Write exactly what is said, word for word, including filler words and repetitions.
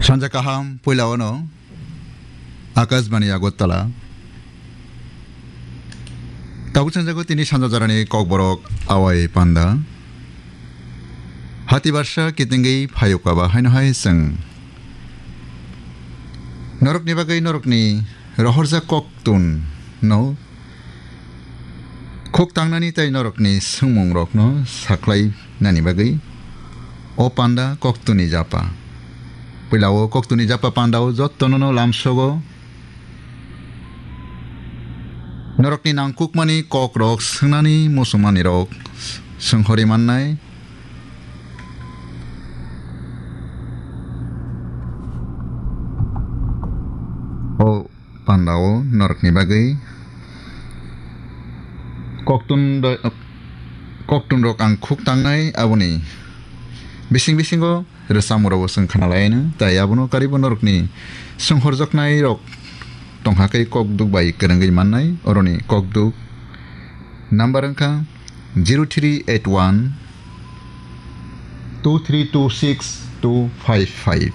Sanja kaham, puila ono Akashbani Agartala. Tabuk sanjago tini sanja jarani kokborok awai panda. Hati barsa kitingwi phayuka ba haino hai chwng norokni bagwi norokni rohorjak koktun no khuk tangnani tei norokni swngmungrokno sakhlai nani bagwi o panda koktunni japa. Puila o koktunni japa pandao jottono no lamsogo norokni nangkukmani kokrok swngnani muchungmanirok swnghori mannai. O pandao norokni bagwi koktun, koktunrok ang khuk tangnai, aboni bising bisingo rwchapmung rokbo chwng khna lai no, tai abono karibo norokni swnghorjaknai rok tongkha khe kokduk bai kwrwngwi mannai. Oroni kokduk number wngkha zero three eight one two three two six two five five.